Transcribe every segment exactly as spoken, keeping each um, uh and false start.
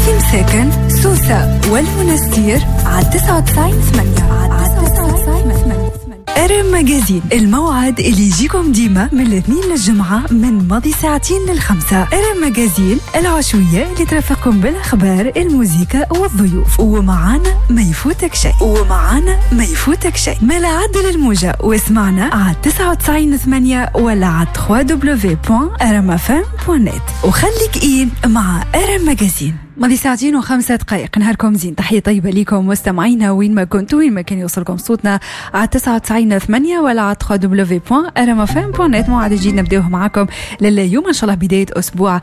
في مساكن سوسة والمنستير على تسعة وتسعين ثمانية، على تسعة وتسعين ثمانية. ارم Magazine، الموعد اللي يجيكم ديما من الاثنين للجمعة من ماضي ساعتين للخمسة. ارم Magazine العشوية اللي ترافقكم بالأخبار، الموسيقى والضيوف، ومعانا ما يفوتك شيء، ومعانا ما يفوتك شيء. ما لا عدل الموجة واسمعنا على تسعة وتسعين ثمانية ولا على دبليو دبليو دبليو دوت ارم اف ام دوت نت، وخليك إين مع ارم Magazine. ماضي ساعتين وخمسة دقائق، نهاركم زين، تحية طيبة لكم مستمعينا وين ما كنتوا، وين ما كان يوصلكم صوتنا على تسعة وتسعين ثمانية ولا على دبليو دبليو دوت ارم اف ام دوت نت. موعد جديد نبداوه معاكم لليوم، ان شاء الله بداية اسبوع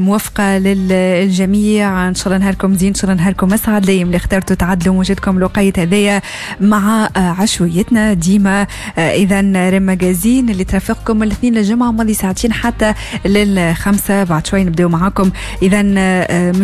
موفقة للجميع، ان شاء الله نهاركم زين، ان شاء الله نهاركم اسعد. الايام اللي اخترتوا تعدلوا موجتكم الوقيت هذايا مع عشويتنا ديما. اذا ريم Magazine اللي ترافقكم من الاثنين للجمعة ماضي ساعتين حتى للخمسة. بعد شوي نبداو معاكم اذا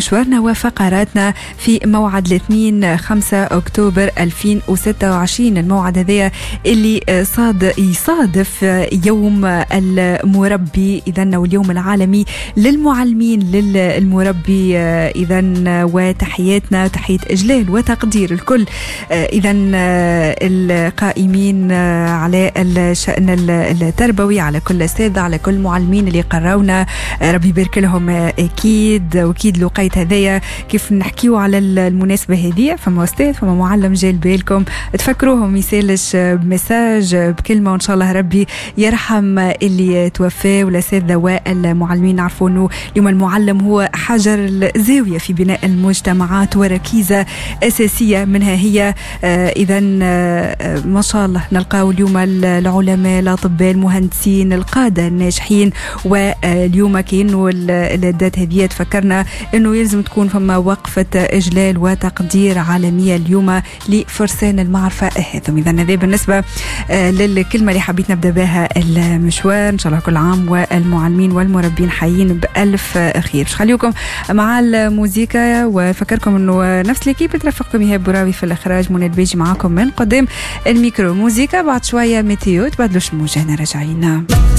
مشوارنا وفقراتنا في موعد الاثنين خمسة أكتوبر ألفين وستة وعشرين، الموعد هذايا اللي صاد يصادف يوم المربي إذن، واليوم العالمي للمعلمين للمربي إذن، وتحياتنا تحية إجلال وتقدير الكل إذن القائمين على الشأن التربوي، على كل أستاذ، على كل معلمين اللي قراونا، ربي يبارك لهم أكيد. وأكيد لقيت هذايا كيف نحكيو على المناسبة هذه، فما أستاذ فما معلم جا لبالكم تفكروهم، يسالش ب message بكلمة، وإن شاء الله ربي يرحم اللي توفى والأساتذة والمعلمين. نعرفوا أنه اليوم المعلم هو حجر الزاوية في بناء المجتمعات وركيزة أساسية منها هي إذا ما شاء الله نلقاو اليوم العلماء، الأطباء، المهندسين، القادة الناجحين. واليوم كأنه الدات هذه تفكرنا أنه يلزم تكون فما وقفة إجلال وتقدير عالمية اليوم لفرسان المعرفة هذم. إذا هذا بالنسبة للكلمة اللي حبيت نبدأ بها المشوار. إن شاء الله كل عام والمعلمين والمربين حيين بألف خير. باش خليكم مع الموزيكا وفكركم أنه نفس l'équipe ترافقكم إيهاب براوي في الإخراج، منى البيجي معاكم من قدام الميكرو. موزيكا بعد شوية météo، تبدلوش الموجة، راجعين.